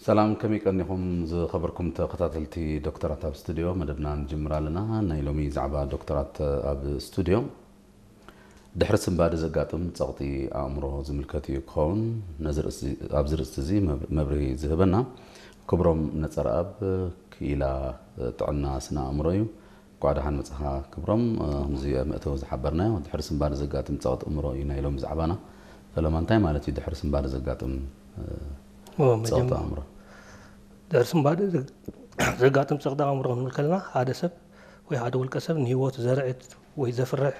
ሰላም፣ ከመይ ቀኒኹም ዝኸበርኩም ተኸታተልቲ ዶክተራት ኣብ ስቱድዮ? መደብና ንጅምር ኣለና። ናይ ሎሚ ዛዕባ ዶክተራት ኣብ ስቱድዮ፣ ድሕሪ ስንባደ ዘጋጥም ጸቕጢ ኣእምሮ ዝምልከት እዩ ክኸውን። ነዚ ርእሲ፣ ኣብዚ ርእስቲ እዚ መብ-፣ መብርሂ ዝህበና ክብሮም ነጸረኣብ፣ ክኢላ ጥዕና ስነ ኣእምሮ እዩ። እንኳዕ ደሓን መጻኻ ክብሮም። እ፣ ከምዚ ኣብ መእተዊ ዝሓበርናዮ፣ ድሕሪ ስንባደ ዘጋጥም ጸቕጢ ኣእምሮ እዩ ናይ ሎሚ ዛዕባና። ፈለማ፣ እንታይ ማለት እዩ ድሕሪ ስንባደ ዘጋጥም፣ እ፣ ኦ፣ ጸቕጢ መጀመ-፣ ኣእምሮ? ድሕሪ ስንባደ ዘ-፣ ዘጋጥም ጸቕጢ ኣእምሮ ክንብል ከለና፣ ሓደ ሰብ ወይ ሓደ ውልቀ ሰብ ንህይወቱ ዘርዕድ ወይ ዘፍርሕ